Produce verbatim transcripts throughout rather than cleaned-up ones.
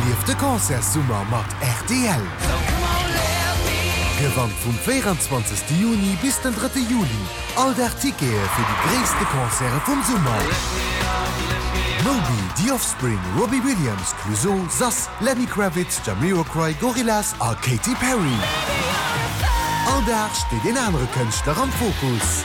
Erlieft de Concertssummer mat rtl! Gewannt vum véieranzwanzegste Juni bis den drëtte Juli all Dag Tickete fir déi gréisste Concerte vum Summer! Moby, The Offspring, Robbie Williams, Clouseau, Sass, Lenny Kravitz, Jamiroquai, Gorillaz a Katy Perry. All Dag steet een anere Kënschtler am Fokus.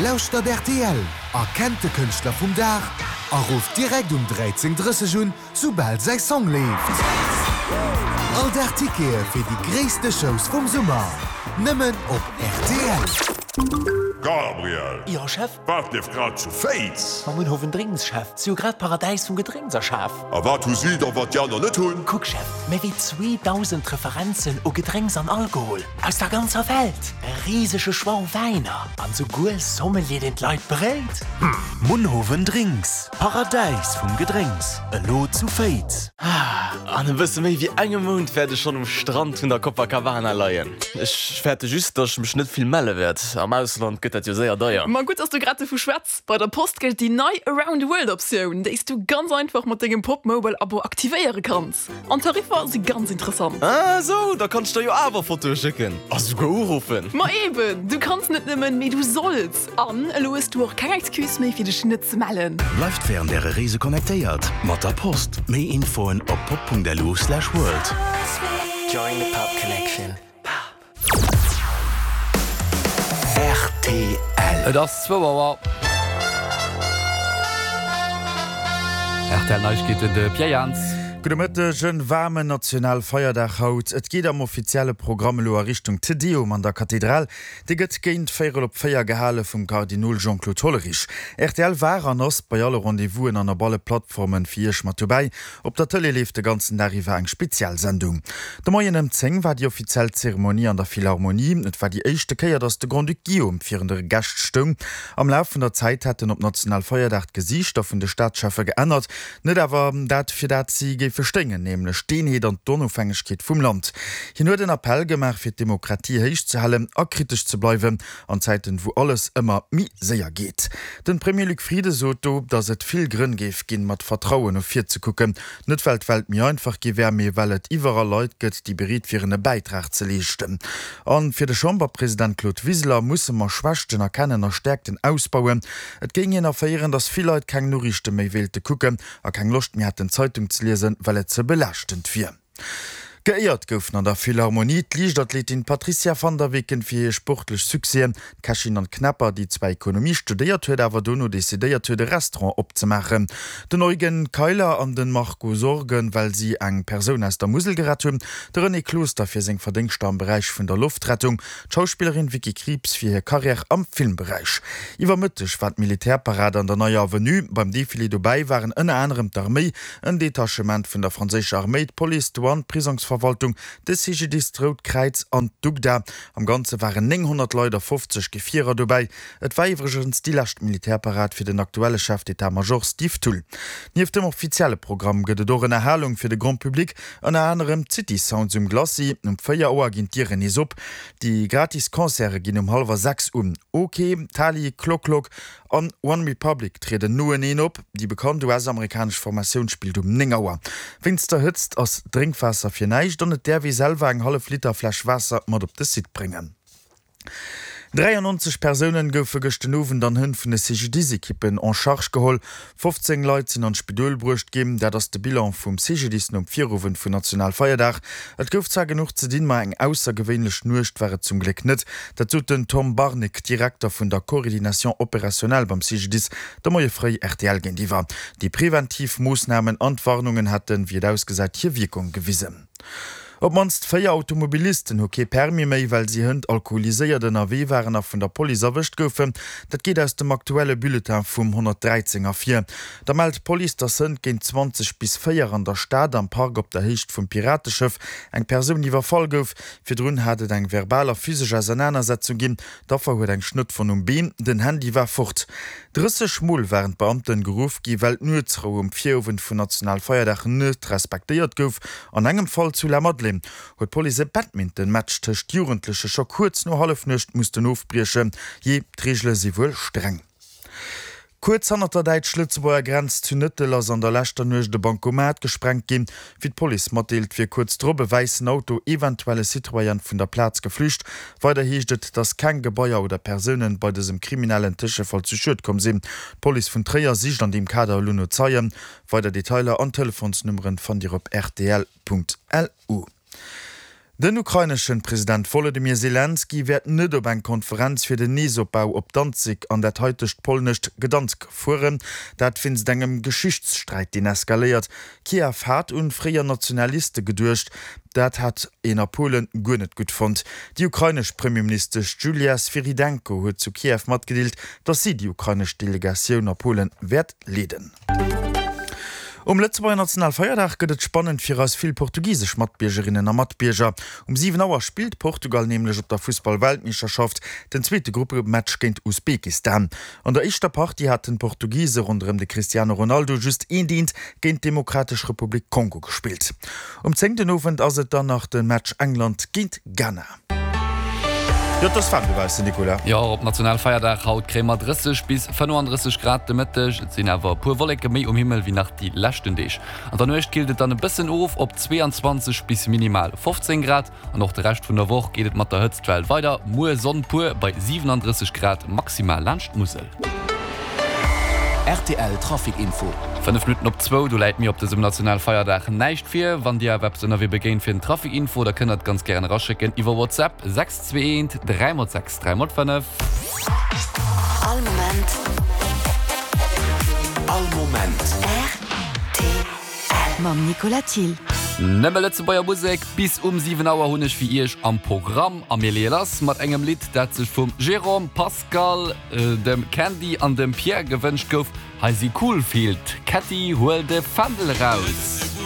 Lauschtert rtl, erkennt de Kënschtler vum Dag a rufft direkt um dräizéng drësseg un, soubal säi Song leeft. All Dag Tickete fir déi gréisste Shows vum Summer, nëmmen op rtl. Gabriel! Jo, Chef? Wat leeft grad zu Féiz? Mam Munhowen Drinks, Chef. Si hu grad d'Paradäis vum Gedrénks erschaf. A wat hu si da, wat déi aner net hunn? Kuck, Chef, méi wéi zweedausend Referenzen u Gedrénks an Alkohol aus der ganzer Welt, e risege Choix u Wäiner an souguer Sommelier, deen d'Leit beréit. Munhowen Drinks, Paradäis vum Gedrénks, elo zu Féiz. An e bësse méi wéi engem Mount wäert ech schonn um Strand vun der Copacabana leien. Ech fäerte just, datt ech mech net vill melle wäert. Am Ausland gëtt dat jo séier deier. Ma gutt, dass du grad dovu schwätz. Bei der Post gëllt déi nei Around the World Optioun, déi s du ganz einfach mat dengem Pop-Mobile Abo aktivéiere kanns. An d'Tariffer si ganz interessant. Ah sou, da kann ech der jo awer Fotoe schécken a souguer uruffen. Ma eben, du kanns net nëmmen, mee du solls! An elo hues du och keng Excuse méi fir dech net ze mellen. Bleift wärend äre Reese connectéiert mat der Post. Méi Infoen op pop punkt lu slash world. Join the Pop Connection. Rtl. Et ass zwou Auer. Rtl Neiegkeeten, de Pierre Jans. Gudde Mëtteg, En waarmen Nationalfeierdag haut. Et geet am offizielle Programm elo a Richtung Te Deum an der Kathedral. Dee gëtt géint véierel op véier gehale vum Kardinol Jean-Claude Hollerich. Rtl war an ass bei alle Rendez-vousen an op alle Plattformen fir Iech mat dobäi. Op der Tëlee leeft de ganzen Dag iwwer eng Spezialsendung. De Moien ëm zéng war déi offiziell Zeremonie an der Philharmonie. Et war déi éischte Kéier, datt de Grand-Duc Guillaume virun de Gäscht stoung. Am Laf vun der Zäit hätten op Nationalfeierdag d'Gesiichter vun de Staatscheffe geännert. Net awer dat, fir dat si géife stéingen, nämlech d'Eenheet an d'Onofhängegkeet vum Land. Hien huet en Appell gemaach, fir d'Demokratie héich ze halen a kritesch ze bleiwen an Zäiten, wou alles ëmmer méi séier geet. Den Premier Luc Frieden sot do, datt et vill Grënn géif ginn, mat Vertrauen no vir ze kucken. Net well d'Welt méi einfach gi wär, mee well et iwwerall Leit gëtt, déi bereet wieren, e Bäitrag ze leeschten. A fir de Chamberpresident Claude Wiseler musse mer Schwächten erkennen a Stäerkten ausbauen. Et géing een erféieren, datt vill Leit keng Noriichte méi wéilte kucken a keng Loscht méi hätten, Zeitung ze liesen, well et ze belaaschtend wier. Geéiert goufen an der Philharmonie d'Liichtathletin Patricia van der Weken fir hir sportlech Succèsen, d'Kächin Anne Knepper, déi zwar Ekonomie studéiert huet, awer dono decidéiert huet, e Restaurant opzemaachen, den Eugen Keiler an de Marco Sorgen, well si eng Persoun aus der Musel gerett hunn, de René Closter fir seng Verdéngschter am Beräich vun der Loftrettung, d'Schauspillerin Vicky Krieps fir hir Karriär am Filmberäich. Iwwer Mëtteg war d'Militärparad an der Neier Avenue. Beim Defilé dobäi waren ënner anerem d'Arméi, en Detachement vun der franséischer Arméi, d'Police, d'Douane, d'Prisongsverwaltung, de C G D I S, d'Rout Kräiz an d'UGDA. Am Ganze waren nénghonnert Leit a fofzeg Gefierer dobäi. Et war iwwregens déi lescht Militärparad fir den aktuelle Chef d'état-major Steve Thull. Nieft dem offizielle Programm gëtt et och Ënnerhalung fir de Grand Public, ënner anerem d'City Sounds um Glacis. Um véier Auer ginn d'Dieren nees op. Déi gratis Concerte ginn um hallwer sechs un. Ok, Tali, Clock Clock an One Republic trieden noeneen op. Déi bekannt U S-amerikanesch Formatioun spillt um néng Auer. Wéinst der Hëtzt ass Drénkwaasser fir näischt an et däerf ee selwer eng hallef Liter Fläsch Waasser mat op de Site bréngen. dräiannonzeg Persounen goufe gëscht den Owend an Hënn vun de C G D I S-Ekippen en charge geholl. fofzéng Leit sinn an d'Spidol bruecht ginn. Dat ass de Bilan vum C G D I S nom Virowend vun Nationalfeierdag. Et gouf zwar genuch ze dinn, ma eng aussergewéinlech Nuecht war et zum Gléck net. Dat sot den Tom Barnig, Direkter vun der Coordination opérationnelle beim C G D I S, de Moie fréi R T L géintiwwer. Déi preventiv Moossnamen an d'Warnungen hätten, wéi et ausgesäit, hir Wierkung gewisen. Op d'mannst véier Automobilisten hu kee Permis méi, well si hënt alkoholiséiert ënnerwee waren a vun der Police erwëscht goufen. Dat geet aus dem aktuelle Bulletin vum honnertdräizéng ervir. Da mellt d'Police, dass hënt géint zwanzeg bis véier an der Stad am Park op der Héicht vum Pirateschëff eng Persoun iwwerfall gouf. Virdrun hat et eng verbal a physesch Ausernanersetzung ginn. D'Affer huet eng Schnëttwonn um Been, den Handy war fort. Drësseg Mol waren d'Beamten geruff gi well d'Nuetsrou um Virowend vun Nationalfeierdag net respektéiert gouf. An engem Fall zu Lamadelaine huet d'Police e Badminton-Match tëscht Jugendleche scho kuerz no Hallefnuecht mussten ofbriechen. Jee, d'Reegele si wuel streng. Kuerz hannert der däitsch-lëtzebuerger Grenz zu Nëttel ass an der leschter Nuecht e Bankomat gesprengt ginn. Wéi d'Police matdeelt, wier kuerz drop e wäissen Auto, eventuell e Citroën, vun der Plaz geflücht. Weider heescht et, datt keng Gebaier oder Persounen bei dësem kriminellen Tëschefall zu Schued komm sinn. D'Police vun Tréier sicht an deem Kader elo no Zeien. Weider Detailer an Telefonsnummeren fannt Dir op rtl.lu. Den ukraineschen President Wolodymyr Selenskyj wäert net op eng Konferenz fir den Neesopbau op Danzig an dat haitegt polnescht Gdansk fueren. Dat wéinst engem Geschichtssträit, deen eskaléiert. Kiew hat un fréier Nationaliste geduecht, dat hat een a Polen guer net gutt fonnt. Déi ukrainesch Premierministesch Julia Swyrydenko huet zu Kiew matgedeelt, datt si déi ukrainesch Delegatioun a Polen wäert leeden. Um Lëtzebuerger Nationalfeierdag gëtt et spannend fir eis vill portugisesch Matbiergerinnen a Matbierger. Um siwen Auer spillt Portugal nämlech op der Fussball-Weltmeeschterschaft den zweete Gruppematch géint Usbekistan. An der éischter Partie haten d'Portugise ronderëm de Cristiano Ronaldo just eent eent géint d'Demokratesch Republik Kongo gespillt. Um zéng den Owend ass et dann nach de Match England géint Ghana. Jo, et ass waarm dobaussen, Nicolas. Jo, op Nationalfeierdag haut kréie mer drësseg bis fënnefandrësseg Grad de Mëtteg. Et sinn awer e puer Wolleke méi um Himmel wéi nach déi leschten Deeg. An der Nuecht killt et dann e bëssen of op zweeanzwanzeg bis minimal fofzéng Grad. An och de Rescht vun der Woch geet et mat der Hëtztwell weider, muer Sonn pur bei siwenandrësseg Grad maximal laanscht d'Musel. Rtl Trafic Info. Fënnef Minutten op zwou, do läit mir op dësem Nationalfeierdag näischt vir. Wann Dir awer eppes ënnerwee begéint fir den Trafic Info, da kënnt der et ganz gären eraschécken iwwer WhatsApp, sechs zwee eent dräi mol sechs dräi mol fënnef. All Moment. All Moment. Rtl. Mam Nicolas Thill. Nëmme Lëtzebuerger Musek bis um siwen Auer hunn ech fir Iech am Programm. A mir leeë lass mat engem Lidd, dat sech vum Jérôme, Pascal, dem Candy an dem Pierre gewënscht gouf. Hei si Coolfield, Ketty, huel de Fändel eraus!